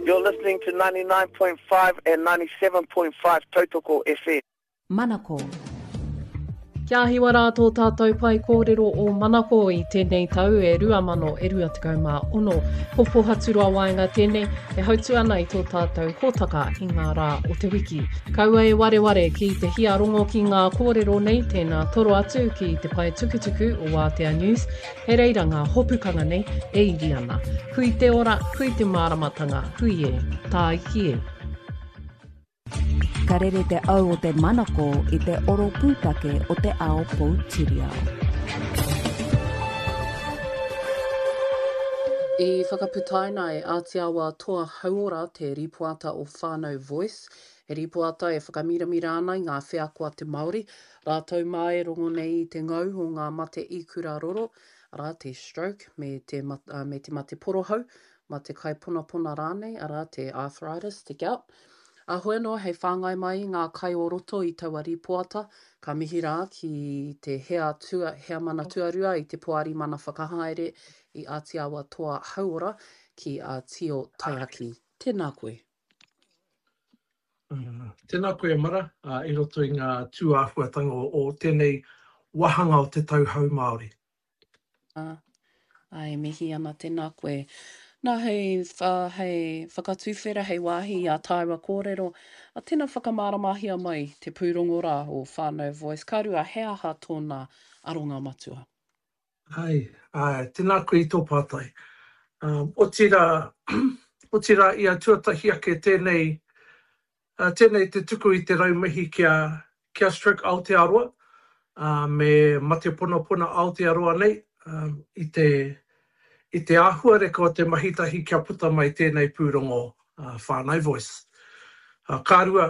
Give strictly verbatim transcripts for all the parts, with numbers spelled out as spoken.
You're listening to ninety-nine point five and ninety-seven point five Tautoko F M. Manako. Kia hiwa rā tō tātou pai kōrero o Manako i tēnei tau e rua mano e rua tekau mā ono. Ko Pohaturoa Waenga tēnei e hautu ana i tō tātou hōtaka i ngā rā o te wiki. Kaua e wareware ki te hiarongo ki ngā kōrero nei, tēnā toro atu ki te pae tukutuku o Wātea News, he reira ngā hopukanga nei e iri ana. Hui te ora, hui te māramatanga, hui e, tāiki e. Ka rere te au o te manako i te oro pūtake o te ao poutiriao. I whakaputaina e Ātiawa Toa Hauora te ripoata o Whānau Voice, he ripoata e whakamiramira ana i ngā wheako a te Māori, rātou mā e rongo nei i te ngau o ngā mate ikura roro, arā te stroke me te mat-, uh, me te mate porohau, mate kaiponapona rānei, arā te arthritis, te gout. A hoi anō hei whāngai mai i ngā kai o roto i taua ripoata, ka mihi rā ki te hea, tua, hea mana tuarua i te poari mana whakahaere i Ātiawa Toa Hauora ki a Tio Taiaki. Tēnā koe. Mm, tēnā koe, Mara, uh, i roto i ngā tūāhuatanga o, o tēnei wāhanga o te tau hou Māori. Ah, ai, mihi ana, tēnā koe. Nā, hei, uh, hei whakatūwhera, hei wāhi i a tāua kōrero, a tēnā whakamāramahia mai te pūrongo rā o Whānau Voice. Ka rua, he aha tōna aronga matua? Ai, ai, tēnā koe i tō pātai. Um, otira, otira i a tuatahi ake tēnei, uh, tēnei te tuku i te raumihi kia, kia Stroke Aotearoa, uh, me Mate Ponapona Aotearoa nei, um, i te, i te āhuareka o te mahitahi kia puta mai tēnei pūrongo, uh, Whānau Voice. Uh, ka rua,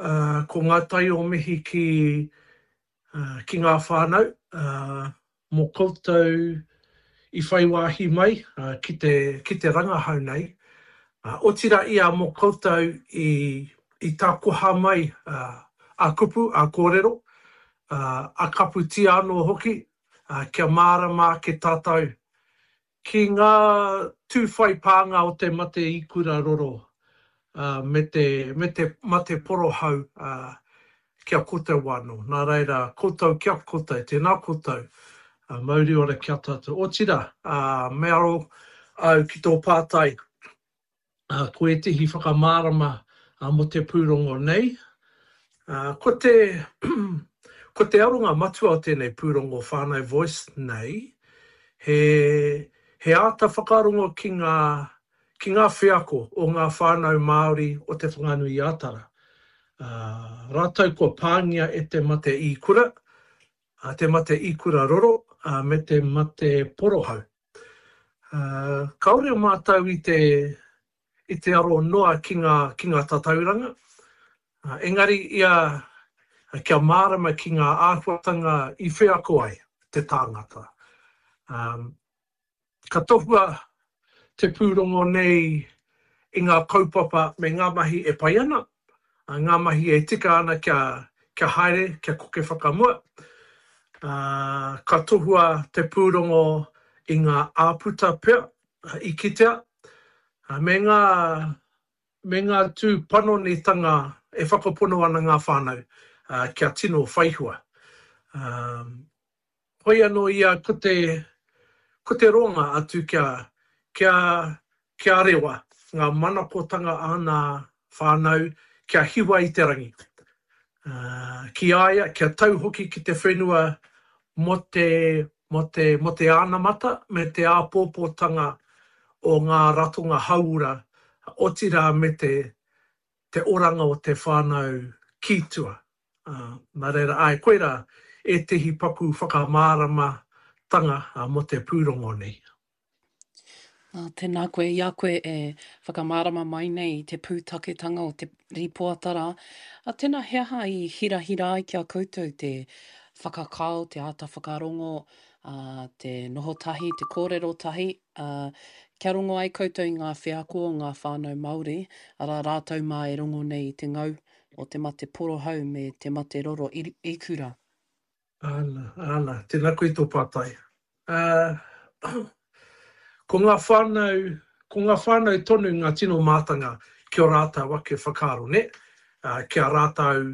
uh, ko ngā tai o mihi ki, uh, ki ngā whānau, uh, mō koutou i whai wāhi mai, uh, ki te, ki te rangahau nei. Uh, otira ia mō koutou i, i tākoha mai, uh, a kupu, a kōrero, uh, a kaputia anō hoki, uh, kia mārama ake tātou ki ngā tūwhai pānga o te mate ikura roro, uh, me te, me te mate porohau, uh, kia koutou wano. Nā reira, koutou kia koutou, tēnā koutou, uh, mauri ora kia tātou. Otira, uh, me aro au ki tō pātai, uh, ko ētehi whakamārama, uh, mō te pūrongo nei. Uh, ko te, ko te aronga matua o tēnei pūrongo Whānau Voice nei, he, he āta whakarongo ki ngā, ki ngā wheako o ngā whānau Māori o Te Whanganui-a-Tara. Uh, rātou kua pāngia e te mate ikura, uh, te mate ikura roro, uh, me te mate porohau. Uh, kāore mātou i te, i te aro noa ki ngā, ki ngā tatauranga, uh, engari ia kia mārama ki ngā āhuatanga i wheako ai te tāngata. Um, ka tohua te pūrongo nei i ngā kaupapa me ngā mahi e pai ana, a ngā mahi e tika ana kia, kia haere, kia koke whakamua. Uh, ka tohua te pūrongo i ngā āputa pea, i kitea, uh, me ngā, me ngā tū panonitanga e whakapono ana ngā whānau, uh, kia tino whaihua. Um, hoi anō ia ko te, ko te ronga atu kia, kia, kia rewa ngā manakotanga a ngā whānau kia hiwa i te rangi. Uh, ki a ia, kia tau hoki ki te whenua mō te, mō te, mō te ānamata me te āpōpōtanga o ngā ratonga hauora, otirā me te, te oranga o te whānau ki tua. Uh, nā reira, ai, koirā ētehi paku whakamāramatanga, uh, mō te pūrongo nei. Nā, tēnā koe, i a koe e whakamārama mai nei i te pūtaketanga o te ripoata rā. A tēnā, he aha i hirahira ai ki a koutou te whakakao, te āta whakarongo, a, te noho tahi, te kōrero tahi, a, kia rongo ai koutou i ngā wheako o ngā whānau Māori, arā rātou mā e rongo nei i te ngau o te mate porohau me te mate roro i, ikura. Ana, ana, tēnā koe tō pātai. Uh, ko ngā whānau, ko ngā whānau tonu ngā tino mātanga ki ō rātou ake whakaaro, nē? Ki a rātou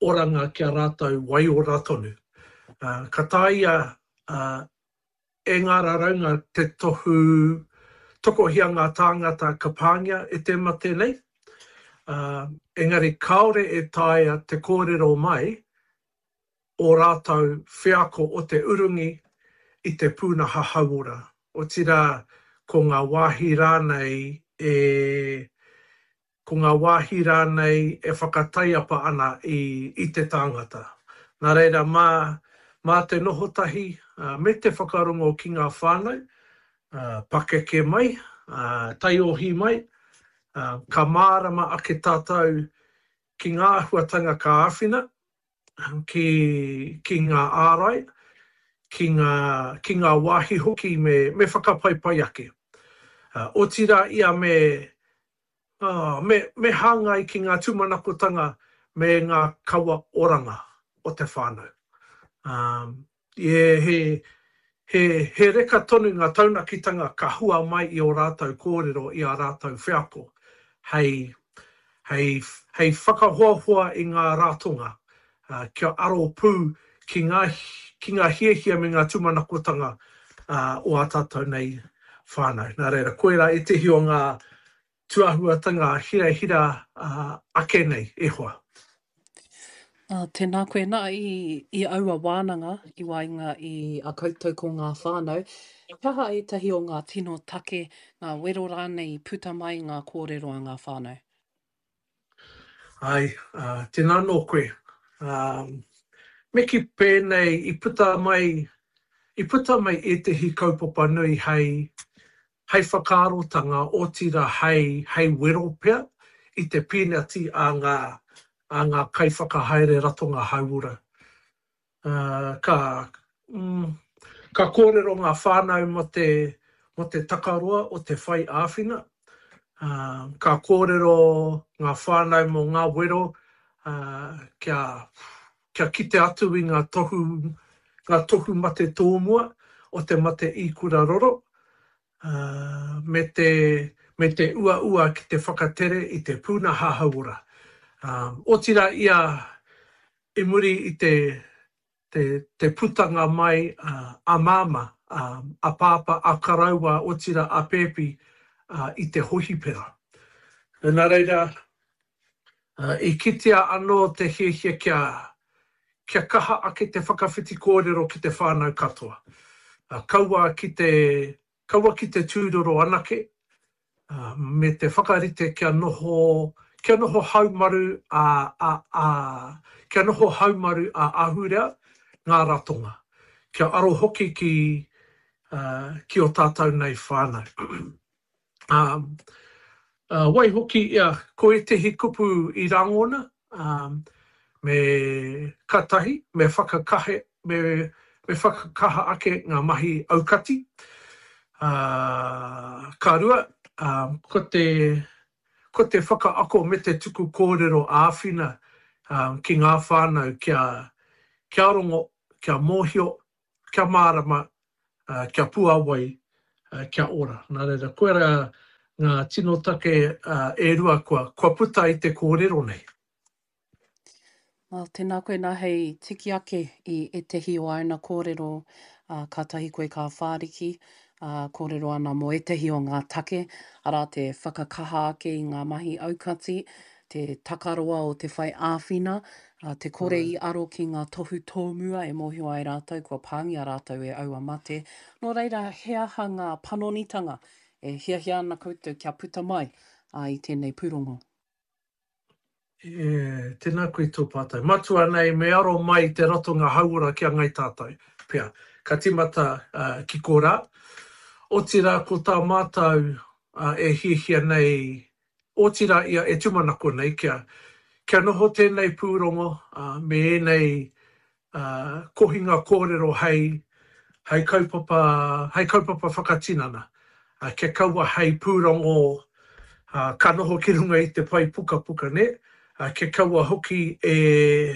oranga, ki a rātou waiora tonu. Ka taea e ngā raraunga te tohu tokohia ngā tāngata ka pāngia e te mate nei, engari kāore e taea te kōrero mai ō rātou wheako o te urungi i te pūnaha hauora, otirā ko ngā wāhi rānei e, ko ngā wāhi rānei e whakataiapa ana i, i te tāngata. Nā reira, mā, mā te noho tahi me te whakarongo ki ngā whānau, pakeke mai, taiohi mai, ka mārama ake tātou ki ngā āhuatanga ka āwhina, ki, ki ngā ārai, ki ngā, ki ngā wāhi hoki me, me whakapaipai ake. Uh, otirā ia me, uh, me, me hāngai ki ngā tūmanakotanga me ngā kawa oranga o te whānau. Um, yeah, he, he, he reka tonu ngā taunakitanga ka hua mai i ō rātou kōrero, i ā rātou wheako, hei, hei, hei whakahoahoa i ngā ratonga, uh, kia aro pū ki ngā, ki ngā hiahia me ngā tūmanakotanga uh, o ā tātou nei whānau. Nā reira, koirā ētehi o ngā tūāhuatanga hirahira uh, ake nei, e hoa. Uh, tēnā koe nā i, i aua wānanga i waenga i a koutou ko ngā whānau. He aha ētahi o ngā tino take, ngā wero rānei i puta mai ngā kōrero a ngā whānau? Ai, uh, tēnā nō koe. Um, me kī pēnei i puta mai, i puta mai ētehi kaupapa nui hei, hei whakaarotanga, otirā hei, hei wero pea i te pīnati a ngā, a ngā kaiwhakahaere ratonga hauora. Uh, ka, mm, ka kōrero ngā whānau mō te, mō te takaroa o te whai āwhina. Uh, ka kōrero ngā whānau mō ngā wero uh, kia, kia kite atu i ngā tohu, ngā tohu mate tōmua o te mate ikura roro, uh, me te, me te uaua ki te whakatere i te pūnaha hauora. Um, otirā ia i muri i te, te, te putanga mai uh, a māmā, um, a pāpā, a karaua, otirā a pēpi uh, i te hohipera. Nā reira, uh, i kitea anō te hiahia kia, kia kaha ake te whakawhiti kōrero ki te whānau katoa. Uh, kaua ki te, kaua ki te tūroro anake, uh, me te whakarite kia noho, kia noho haumaru a, a, a, kia noho haumaru a ahurea ngā ratonga. Kia aro hoki ki, uh, ki o tātou nei whānau. um, uh, waihoki, ia, ko ētehi kupu i rangona, um, me katahi, me whakakahe, me, me whakakaha ake ngā mahi aukati. Uh, ka rua, um, ko te, ko te whakaako me te tuku kōrero āwhina um, ki ngā whānau kia, kia rongo, kia mōhio, kia mārama, uh, kia puawai, uh, kia ora. Nā reira, koirā ngā tino take uh, e rua kua, kua puta i te kōrero nei. Well, tēnā koe nā hei tiki ake i ētehi o āna kōrero, uh, kātahi koe ka whāriki, uh, kōrero ana mō ētehi o ngā take, arā te whakakaha ake i ngā mahi aukati, te takaroa o te whai āwhina, uh, te kore i aro ki ngā tohu tōmua e mōhio ai rātou, kua pāngia rātou e aua mate. Nō reira, he aha ngā panonitanga e hiahia ana koutou kia puta mai uh, i tēnei pūrongo? E, tēnā koe tō pātai. Matua nei, me aro mai te ratonga hauora ki a ngai tātou. Pea, ka timata uh, ki korā. Otirā ko tā mātou uh, e hiahia nei, otirā ia e tūmanako nei, kia, kia noho tēnei pūrongo uh, me ēnei uh, kohinga kōrero hei, hei kaupapa, hei kaupapa whakatinana. Uh, kia kaua hei pūrongo uh, ka noho ki runga i te pai pukapuka, ne? Uh, kia kaua hoki e,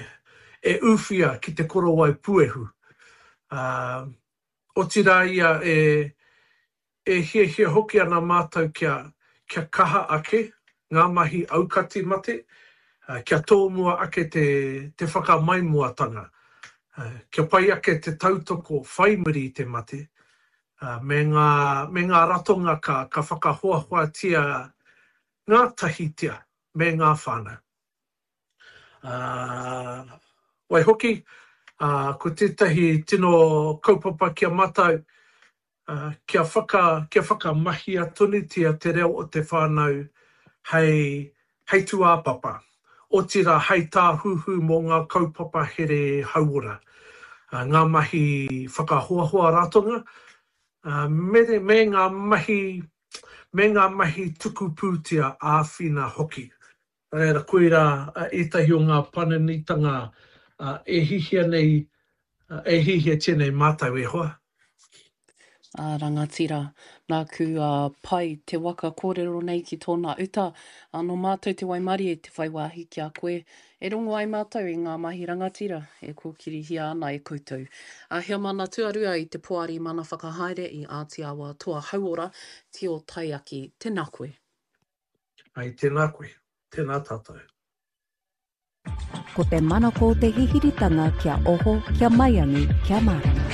e uwhia ki te korowai puehu. Uh, otirā ia e, e hiahia hoki ana mātou kia, kia kaha ake ngā mahi aukati mate, kia tōmua ake te, te whakamaimoatanga, kia pai ake te tautoko whai muri i te mate, me ngā, me ngā ratonga ka, ka whakahoahoatia ngātahitia me ngā whānau. Uh, waihoki, uh, ko tētahi tino kaupapa ki a mātou, uh, kia, whaka, kia whakamahia tonutia te reo o te whānau hei, hei tūāpapa, otirā hei tāhuhu mō ngā kaupapa here hauora, uh, ngā mahi whakahoahoa ratonga, uh, me, me ngā mahi me ngā mahi tuku pūtea āwhina hoki. Nā reira, koirā ētahi o ngā panonitanga e hihia nei, e hihiatia nei mātou e hoa. Ā, rangatira, nāku a Pai te waka kōrero nei ki tōna uta, ā, nō mātou te waimarie te whai wāhi ki a koe, e rongo ai mātou i ngā mahi rangatira e kōkirihia ana e koutou. Ā, heamana tuarua i te Poari Mana Whakahaere i Āti Awa Toa Hauora, Tio Taiaki, tēnā koe. Ai, tēnā koe. Tēnā tātou. Ko te manako te hihiritanga kia oho, kia maiangi, kia mārama.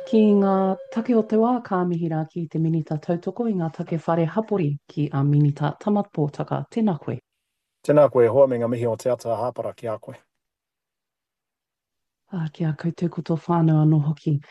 Ki ngā take o te wā, ka mihi rā ki te Minita Tautoko i ngā take whare hapori, ki a Minita Tamat Pōtaka. Tēnā koe. Tēnā koe e hoa me ngā mihi o Te Ata Hāpara ki a koe. Ā, ki a koutou ko tō whānau anō hoki.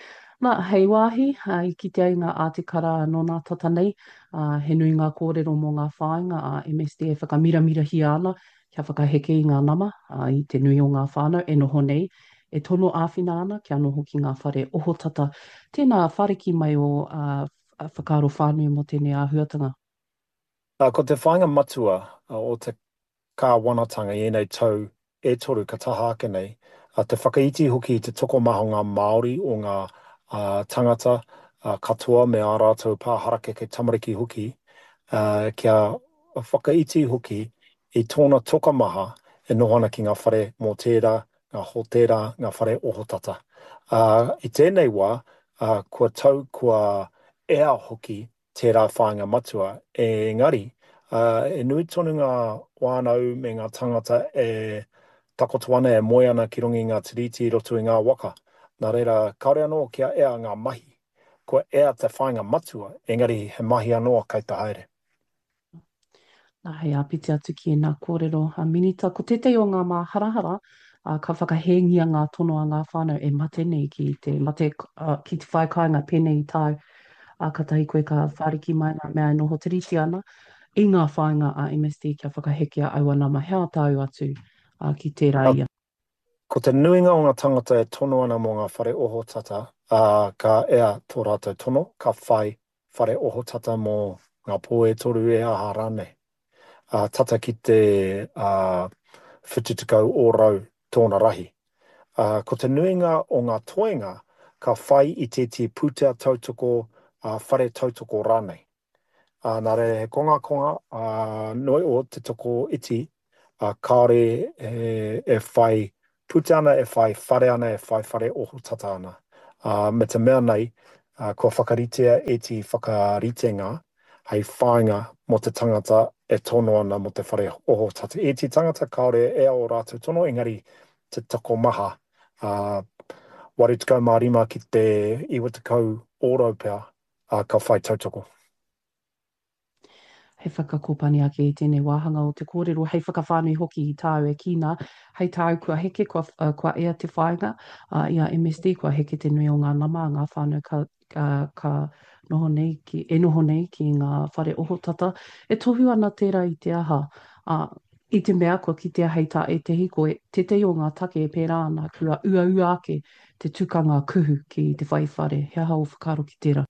Nā, hei wāhi, ā, i kite ai ngā ātikara nō nā tata nei, ā, he nui ngā kōrero mō ngā whāinga a M S D e whakamiramirahia ana kia whakaheke i ngā nama, ā, i te nui o ngā whānau e noho nei, e tono āwhina ana kia noho ki ngā whare ohotata. Tēnā, whāriki mai ō, ā, whakaaro whānui mō tēnei āhuatanga. Ā, ko te whāinga matua o te kāwanatanga i ēnei tau e toru ka taha ake nei, te whakaiti hoki i te tokomaha o ngā Māori, o ngā tangata katoa me ā rātou pā harakeke tamariki hoki, kia whakaiti hoki i tōna tokomaha e noho ana ki ngā whare mōtēra, ngā hōtēra, ngā whare ohotata. I tēnei wā, kua tau, kua ea hoki tērā whāinga matua, engari, e nui tonu ngā whānau me ngā tangata e takoto ana, e moe ana ki runga i ngā tiriti i roto i ngā waka. Nā reira, kāore anō kia ea ngā mahi. Kua ea te whāinga matua, engari he mahi anō kei te haere. Nā, hei āpiti atu ki ēnā kōrero a Minita, ko tētahi o ngā māharahara, ā, ka whakahēngia ngā tono a ngā whānau e mate nei ki te mate, ā, ki te whai kāinga pēnei i tāu, ā, kātahi koe ka whāriki mai ngā mea e noho tiriti ana i ngā whāinga a M S D kia whakahekea aua nama. He aha tāu atu, ā, ki tērā ia? Ko te nuinga o ngā tangata e tono ana mō ngā whare ohotata, ā, ka ea tō rātou tono, ka whai whare ohotata mō ngā pō e toru e aha rānei. Ā, tata ki te, ā, whitu tekau ōrau tōna rahi. Ā, ko te nuinga o ngā toenga ka whai i tētahi pūtea tautoko, ā, whare tautoko rānei. Ā, nā reira he kongakonga, ā, noi o te toko iti, ā, kāore e, e whai pūtea ana, e whai whare ana, e whai whare ohotata ana. Ā, me te mea nei, ā, kua whakaritea ētahi whakaritenga hei whāinga mō te tangata e tono ana mō te whare ohotata. Ētahi tangata kāore e ō rātou tono, engari te tokomaha, ā, waru tekau mā rima ki te iwa tekau ōrau pea, ā, ka whai tautoko. Hei whakakōpani ake i tēnei wāhanga o te kōrero, hei whakawhānui hoki i tāu e kī nā, hei tāu kua heke, kua, uh, kua ea te whāinga, uh, i a M S D, kua heke te nui o ngā nama, ngā whānau ka, ka, ka noho nei ki, e noho nei ki ngā whare ohotata. E tohu ana tērā i te aha, uh, i te mea kua kitea hei tā ētehi, ko e, tētehi o ngā take e pērā ana, kua uaua ake te tukanga kuhu ki te whai whare. He aha o whakaaro ki tērā?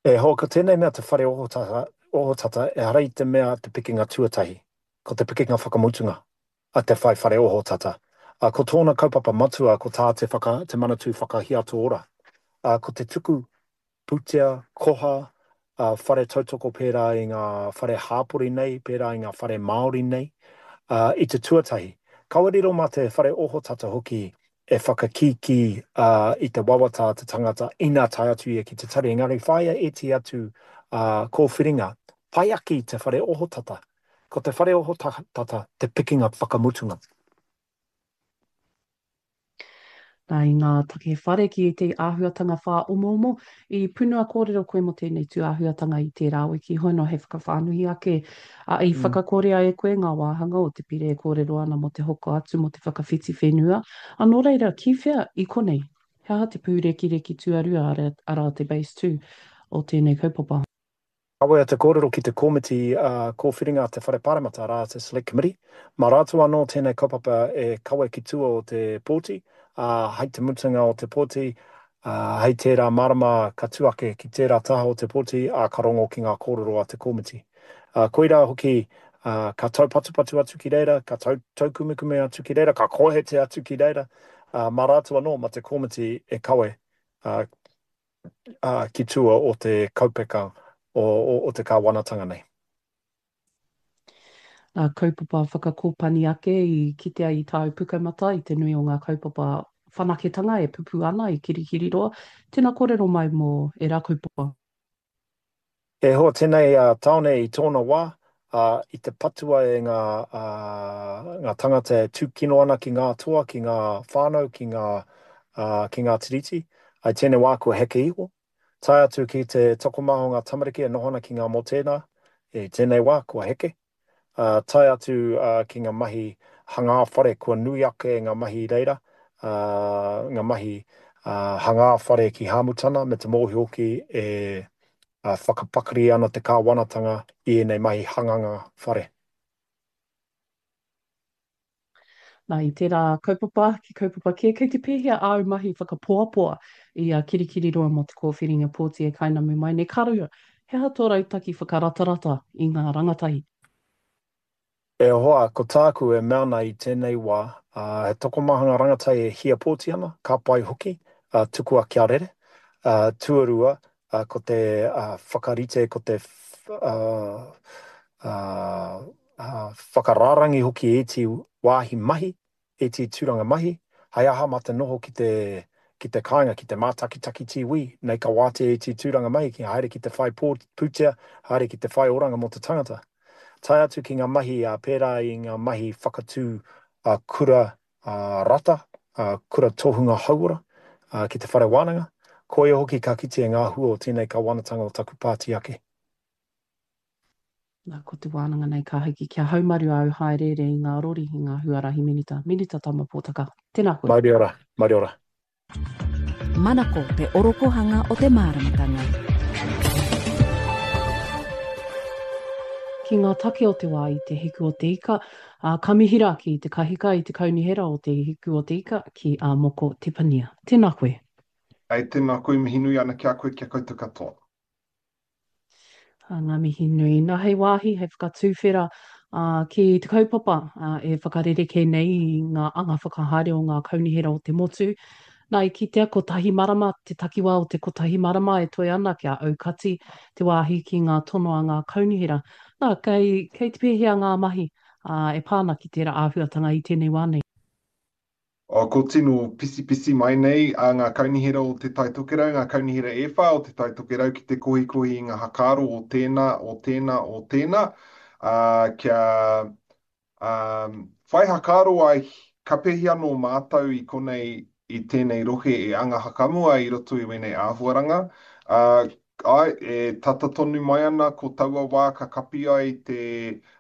E hoa, ko tēnei mea te whare ohotata, ohotata, ehara i te mea te pikinga tuatahi, ko te pikinga whakamutunga a te whai whare ohotata. A, ko tōna kaupapa matua, ko tā te, whaka, te Manatū Whakahiato Ora. A, ko te tuku pūtea, koha, a, whare tautoko pērā i ngā whare hāpori nei, pērā i ngā whare Māori nei, a, i te tuatahi. Kaua riro mā te whare ohotata hoki e whakakīkī i te wawata a te tangata ina tae atu ia ki te tari, engari whāia ētehi atu kōwhiringa pai ake i te whare ohotata. Ko te whare ohotata te pikinga whakamutunga. Nā, i ngā take whare ki ētehi āhuatanga whāomoomo, i punua kōrero koe mō tēnei tūāhuatanga i tērā wiki, hoi nō hei whakawhānui ake, ā, i whakakorea e koe ngā wāhanga o te pire e kōrero ana mō te hoko atu, mō te whakawhiti whenua, ā, nō reira, ki whea i konei? He aha te pūrekireki tuarua, arā, te base two o tēnei kaupapa? Kawea te kōrero ki te Komiti Kōwhiringa a te Whare Pāremata, arā, te Select Committee. Mā rātou anō tēnei kaupapa e kawe ki tua o te pōti, ā, hei te mutunga o te pōti, ā, hei tērā marama ka tū ake ki tērā taha o te pōti, ā, ka rongo ki ngā kōrero a te komiti. Ā, koirā hoki, ā, ka taupatupatu atu ki reira, ka tau, taukumekume atu ki reira, ka kohete atu ki reira, ā, mā rātou anō, mā te komiti e kawe, ā, ā, ki tua o te kaupeka o, o, o te kāwanatanga nei. Ngā kaupapa whakakōpani ake i kitea i tāu pukamata i te nui o ngā kaupapa whanaketanga e pupū ana i Kirikiriroa. Tēnā kōrero mai mō ērā kaupapa. E hoa, tēnei tāone i tōna wā, ā, i te patua e ngā, ā, ngā tangata e tūkino ana ki ngā toa, ki ngā whānau, ki ngā, ā, ki ngā tiriti. I tēnei wā kua heke iho. Tae atu ki te tokomaha o ngā tamariki e noho ana ki ngā motēnā, i tēnei wā kua heke. Ā, tae atu, ā, ki ngā mahi hangā whare kua nui ake ngā mahi i reira, ā, ngā mahi, ā, hangā whare ki Hāmutana me te mōhio hoki e, ā, whakapakari ana te kāwanatanga i ēnei mahi hanganga whare. Nā, i tērā kaupapa ki kaupapa kē, kei te pēhea āu mahi whakapoapoa i a Kirikiriroa mō te kōwhiringa pōti e kainamu mai nei? Ka rua, he aha tō rautaki whakaratarata i ngā rangatahi? E hoa, ko tāku e mea ana i tēnei wā, he tokomaha ngā rangatahi e hia pōti ana, ka pai hoki, tukua kia rere. Tuarua, ko te whakarite, ko te whakarārangi hoki ētehi wāhi mahi, ētehi tūranga mahi, hei aha mā te noho ki te ki te kāinga, ki te mātakitaki tīwī, nei ka wātea ētehi tūranga mahi ki haere ki te whai pūtea, haere ki te whai oranga mō te tangata. Tae atu ki ngā mahi pērā i ngā mahi whakatū kura rata, kura tohunga hauora ki te whare wānanga, koia hoki ka kitea ngā hua o tēnei kāwanatanga o taku pāti ake. Nā, ko te wānanga nei ka hiki kia haumaru āu hāereere i ngā rori, i ngā huarahi Minita, Minita Tama Pōtaka. Tēnā koe. Mauri ora, mauri ora. Manako te orokohanga o te māramatanga. Ki ngā take o te wā i Te Hiku o te Ika, ā, ka mihi rā ki te kahika i te Kaunihera o Te Hiku o te Ika, ki a Moko Tepania. Tēnā koe. Ē, tēnā koe, mihi nui ana ki a koe, ki a koutou katoa. Ngā mihi nui. Nā, hei wāhi, hei whakatuwhera ki te kaupapa e whakarerekē nei i ngā anga whakahaere o ngā kaunihera o te motu. Nā, i kitea kotahi marama, te takiwā o te kotahi marama e toe ana kia aukati te wāhi ki ngā tono a ngā kaunihera. Nā, kei, kei te pēhea ngā mahi e pā ana ki tērā āhuatanga i tēnei wā nei? Oh, ko tino pisipisi mai nei a ngā kaunihera o Te Tai Tokerau, ngā kaunihera e whā o Te Tai Tokerau ki te kohikohi i ngā hakaaro o tēnā, o tēnā, o tēnā, ā, kia ā, whai hakaaro ai ka pēhi anō mātou i konei i tēnei rohe e anga hakamua i roto i wēnei āhuaranga. Ā, Āe, e tata tonu mai ana ko taua wā ka kapi ai te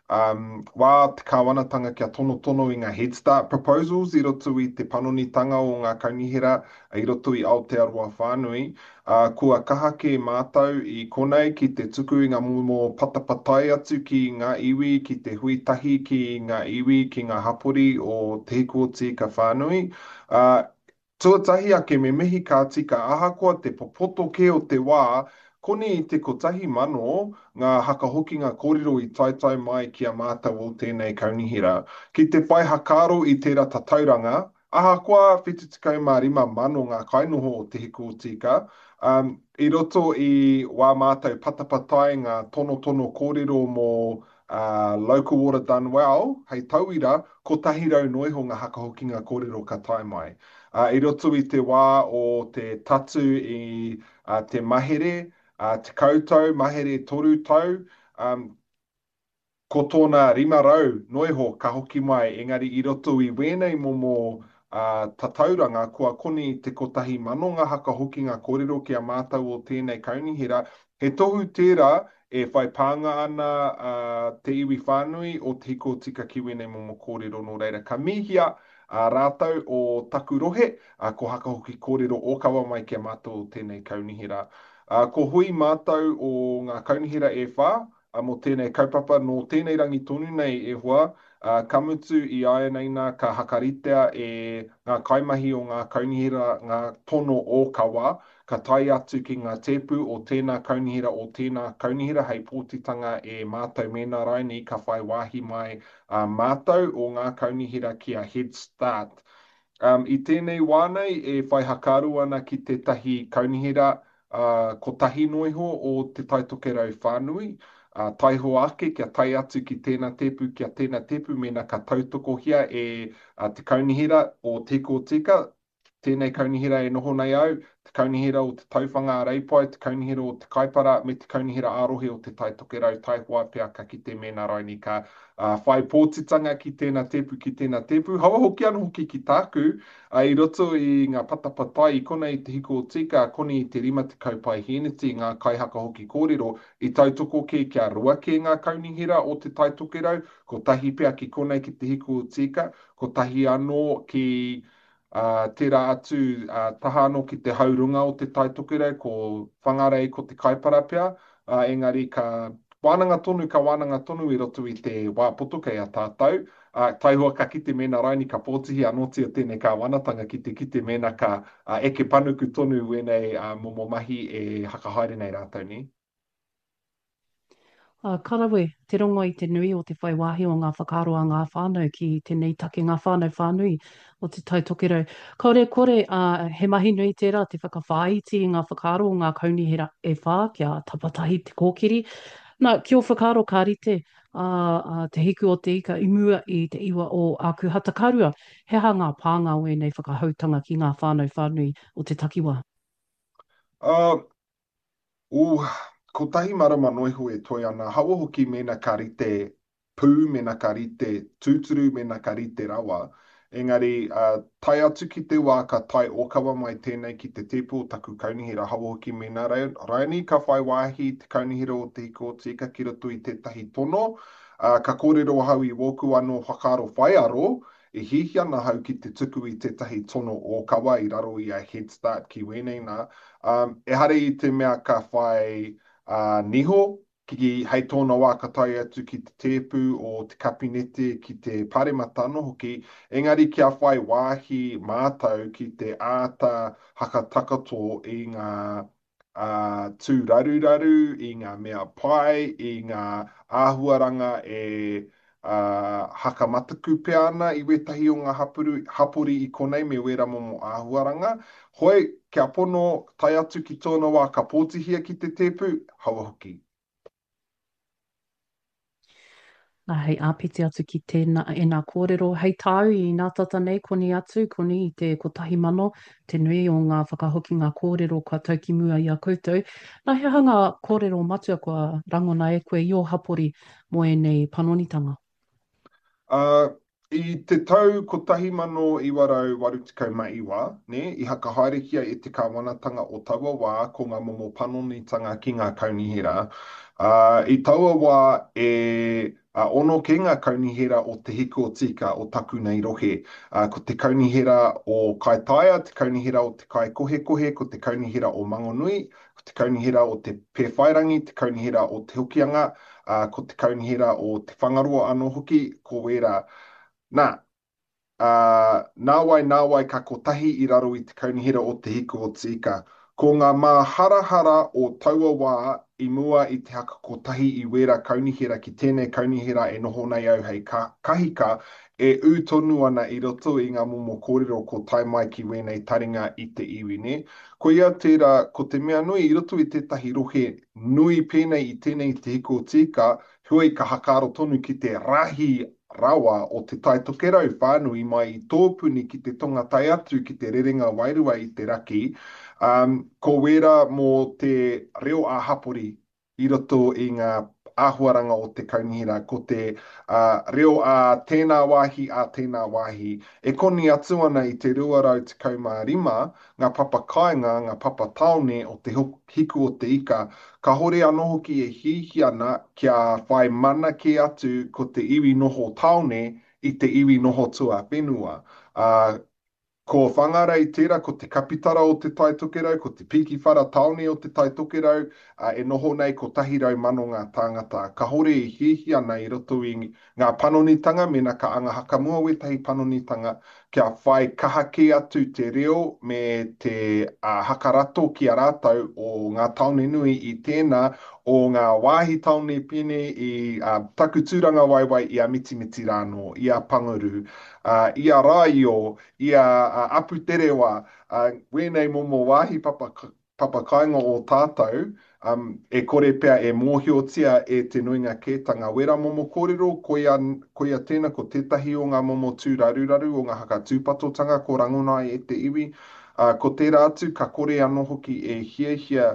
um, wā te kāwanatanga kia tonotono i ngā Head Start proposals i roto i te panonitanga o ngā kaunihera i roto i Aotearoa whānui. Ā, kua kaha kē mātou i konei ki te tuku i ngā momo patapatai atu ki ngā iwi, ki te hui tahi ki ngā iwi, ki ngā hapori o Te Hiku o Te Ika whānui. Ā, Tuatahi ake me mihi ka tika ahakoa te popoto kē o te wā, koni i te kotahi mano ngā hakahokinga kōrero i taetae mai ki a mātou o tēnei kaunihera. Ki te whai hakaaro i tērā tatauranga, ahakoa whitu tekau mā rima mano ngā kainoho o Te Hiku o Tīka, ā, i roto i wā mātou patapatai ngā tonotono kōrero mō ā, Local Water Done Well, hei tauira, kotahi rau noa iho ngā hakahokinga kōrero ka tae mai. I roto i te wā o te tatu i te mahere, tekau tau, mahere toru tau, ko tōna rima rau noa iho ka hoki mai, engari i roto i wēnei momo tatauranga kua koni i te kotahi mano ngā hakahokinga kōrero ki a mātou o tēnei kaunihera, he tohu tērā e whai pānga ana te iwi whānui o Te Hiko Tika ki wēnei momo kōrero nō reira ka mihia rātou o taku rohe, ko hakahoki kōrero ōkawa mai ki a mātou o tēnei kaunihera. Ko hui mātou o ngā kaunihera e whā, mō tēnei kaupapa nō tēnei rangi tonu nei e hoa, ā, ka mutu i āianei nā ka hakaritea e ngā kaimahi o ngā kaunihera ngā tono ōkawa ka tae atu ki ngā tēpu o tēnā kaunihera o tēnā kaunihera hei pōtitanga e mātou mēnā rainī ka whai wāhi mai ā mātou o ngā kaunihera ki a Head Start. Um, i tēnei wā nei e whai hakaaro ana ki tētahi kaunihera ā, kotahi noa iho o Te Tai Tokerau whānui, ā, taihoa ake kia tae atu ki tēnā tēpu, kia tēnā tēpu mēnā ka tautokohia e te Kaunihera o Te Ika o Tika, tēnei kaunihera e noho nei au, te Kaunihera o Te Tauwhanga a Reipae, te Kaunihera o Te Kaipara me te Kaunihera ā-Rohe o Te Tai Tokerau, taihoa pea ka kite mēnā raini ka whai pōtitanga ki tēnā tēpu, ki tēnā tēpu. Haua hoki anō hoki ki tāku, i roto i ngā patapatai i konei i Te Hiko o Tika, koni i te rima tekau paihēneti ngā kaihaka hoki kōrero, i tautoko kē kia rua kē ngā kaunihera o Te Tai Tokerau, kotahi pea ki konei ki Te Hiko o Tika, kotahi anō ki Ā, tērā atu, ā, taha anō ki te hau runga o Te Tai Tokerau, ko Whangarei, ko Te Kaipara pea, ā, engari ka wānanga tonu, ka wānanga tonu i roto i te wā poto kei a tātou, ā, taihoa ka kite mēnā raini ka pōtihi anōtia tēnei kāwanatanga ki te kite mēnā ka, ā, eke panuku tonu wēnei, ā, momo mahi e hakahaere nei rātou, nē. Ā, ka rawe te rongo i te nui o te whai wāhi o ngā whakaaro a ngā whānau ki tēnei take, ngā whānau whānui o Te Tai Tokerau. Kāore e kore, ā, he mahi nui tērā te whakawhāiti i ngā whakaaro o ngā kaunihera e whā kia tapatahi te kōkiri. Nā, ki ō whakaaro ka rite ā, ā, te hiku o te ika i mua i te iwa o Ākuhata ka rua, he aha ngā pānga o ēnei whakahoutanga ki ngā whānau whānui o te takiwā? Ā, Ooh, kotahi marama noa iho e toe ana, haua hoki mēnā ka rite pū, mēnā ka rite tūturu, mēnā ka rite rawa. Engari, uh, tae atu ki te wā ka tae ōkawa mai tēnei ki te tēpu o taku kaunihera, haua hoki mēnā raini ka whai wāhi te kaunihera o Te Hiko o Te Ika ki roto i tētahi tono, uh, ka kōrero ahau i wōku anō whakaaro whaiaro, E hiahia ana ahau ki te tuku i tētahi tono ōkawa i raro i a Head Start ki wēnei nā, ā, ehara i te mea ka whai niho, ki, hei tōna wā ka tae atu ki te tēpu o te kapinete, ki te paremata anō hoki, engari kia whai wāhi mātou ki te āta hakatakato i ngā ā, tūraruraru, i ngā mea pai, i ngā āhuaranga e, ā, hakamataku pea ana i wētahi o ngā hapuru, hapori i konei me wērā momo āhuaranga. Hoi, kia pono, tae atu ki tōna wā ka pōtihia ki te tēpu, haua hoki. Nā, hei āpiti atu ki tēnā, ēnā kōrero, hei tāu i nātata nei, koni atu, koni i te kotahi mano, te nui o ngā whakahokinga kōrero kua tau ki mua i a koutou. Nā, he aha ngā kōrero matua kua rangona e koe i ō hapori mō ēnei panonitanga? Ā, I te tau kotahi mano iwa rau waru tekau ma iwa, nē, i hakahaerehia e te kāwanatanga o taua wā ko ngā momo panonitanga ki ngā kaunihera, ā, i taua wā e ono kē ngā kaunihera o Te Hiku o Tika o taku nei rohe, ā, ko te kaunihera o Kaitaia, te kaunihera o Te Kaikohekohe, ko te kaunihera o Mangonui, ko te kaunihera o Te Pēwhairangi, te kaunihera o Te Hokianga, ā, ko te kaunihera o Te Whangaroa anō hoki, ko wērā. Nā, ā, nāwai, nāwai ka kotahi i raro i te kaunihera o Te Hiku o Te Ika. Ko ngā māharahara o taua wā i mua i te haka kotahi i wērā kaunihera ki tēnei kaunihera e noho nei au hei kahika, e ū tonu ana i roto i ngā momo kōrero ko tae mai ki wēnei taringa i te iwi, nē. Koia tērā, ko te mea nui i roto i tētahi rohe nui pēnei i tēnei i Te Hiku o Tīka, heoi ka hakaaro tonu ki te rahi rawa o Te Tai Tokerau whānui mai i Tōpuni ki te tonga tae atu ki te Rerenga Wairua i te raki, ā, ko wērā mō te reo ā-hapori i roto i ngā āhuaranga o te kaunihera, ko te reo ā tēnā wāhi, ā tēnā wāhi. E koni atu ana i te rua rau tekau mā rima ngā papa kāinga, ngā papa tāone o te Hiku o te Ika, kāhore anō hoki e hiahia ana kia whai mana kē atu ko te iwi noho tāone i te iwi noho tuawhenua. Ā, Ko Whangarei tērā, ko te kapitara o Te Tai Tokerau, ko te pīkiwhara tāone o Te Tai Tokerau, ā, e noho nei kotahi rau mano ngā tāngata. Kāhore e hiahia ana i roto i ngā panonitanga, mēnā ka anga hakamua wētahi panonitanga, kia whai kaha kē atu te reo me te hakarato ki a rātou o ngā tāone nui i tēnā o ngā wāhi tāone pēnei i taku tūrangawaewae i a Mitimiti rānō, i a Panguru, i a Rāio, i a Aputerewa, wēnei momo wāhi papa, papakāinga o tātou, um, e kore pea e mōhiotia e te nuinga kētanga. Wērā momo kōrero, koia, koia tēnā ko tētahi o ngā momo tūraruraru o ngā hakatūpatotanga ko rangona ai e te iwi. Uh, ko tērā atu, ka kore anō hoki e hiahia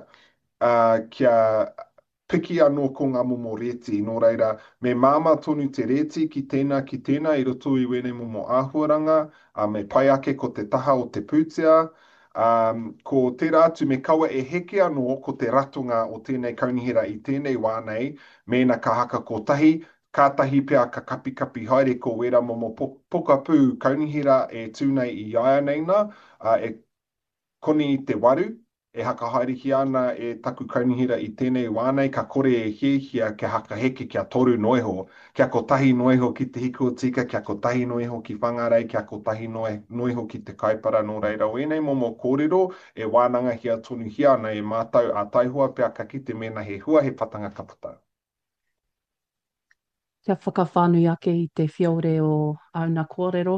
uh, kia piki anō ko ngā momo rēti, nō reira, me māmā tonu te rēti ki tēnā, ki tēnā i roto i wēnei momo āhuaranga, ā, me pai ake ko te taha o te pūtea, ā, ko tērā atu me kaua e heke anō ko te ratonga o tēnei kaunihera i tēnei wā nei, mēnā ka haka kotahi, kātahi pea ka kapikapi haere ko wērā momo pokapū kaunihera e tū nei i āianei nā, ā, e koni i te waru, e hakahaerehia ana e taku kaunihera i tēnei wā nei, ka kore e hiahia kia hakaheke kia toru noa iho, kia kotahi noa iho ki Te Hiku o Tika, kia kotahi noa iho ki Whangarei, kia kotahi noa iho ki Te Kaipara, nō reira, o ēnei momo kōrero e wānangahia tonuhia ana e mātou, ā taihoa pea ka kite mēnā he hua, he patanga ka puta. Kia whakawhānui ake i te whiore o āuna kōrero.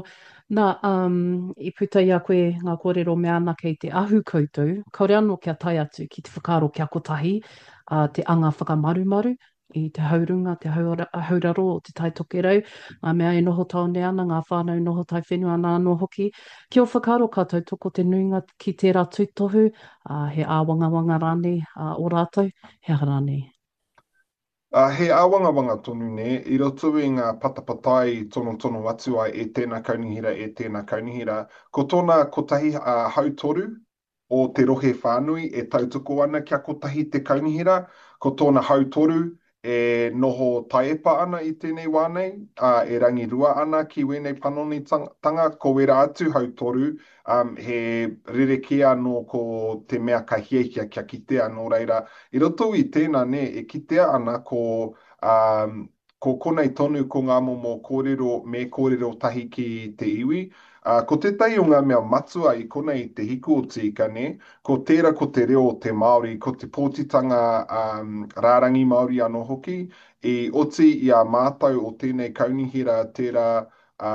Nā, um, i puta i a koe ngā kōrero mea ana kei te ahu koutou, kāore anō kia tae atu ki te whakaaro kia kotahi uh, te anga whakamarumaru i te haurunga, te hauraro o Te Tai Tokerau, ngā mea e noho tāone ana, ngā whānau noho taiwhenua ana anō hoki. Ki ō whakaaro ka tautoko te nuinga ki tērā tūtohu, uh, he āwangawanga rānei uh, ō rātou, he aha rānei? Ā, he āwangawanga tonu, nē, i roto i ngā patapatai i tonotono atu ai e tēnā kaunihera, e tēnā kaunihera. Ko tōna kotahi hautoru o te rohe whānui e tautoko ana kia kotahi te kaunihera, ko tōna hautoru e noho taiepa ana i tēnei wā nei, ā, e rangirua ana ki wēnei panonitanga, ko wērā atu hautoru, ā, he rerekē anō ko te mea ka hiahia kia kitea, nō reira, i roto i tēnā, nē, e kitea ana ko, ā, ko konei tonu ko ngā momo kōrero me kōrero tahi ki te iwi. Ā, ko tētahi o ngā mea matua i konei i te hiku o Tīka, nē, ko tērā ko te reo o te Māori, ko te pōtitanga, ā, rārangi Māori anō hoki, i oti i a mātou o tēnei kaunihera tērā, ā,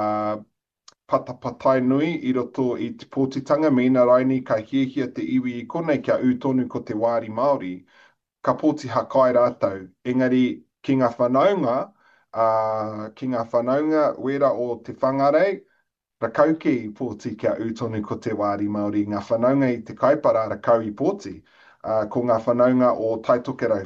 patapatai nui i roto i te pōtitanga, mēnā rainī ka hiahia te iwi i konei kia ū tonu ko te wāri Māori, ka pōti hakai rātou. Engari, ki ngā whanaunga, ā, ki ngā whanaunga wērā o Te Whangarei, rakau kē i pōti kia ū tonu ko te wāri Māori, ngā whanaunga i Te Kaipara rakau i pōti, ā, ko ngā whanaunga o Taitokerau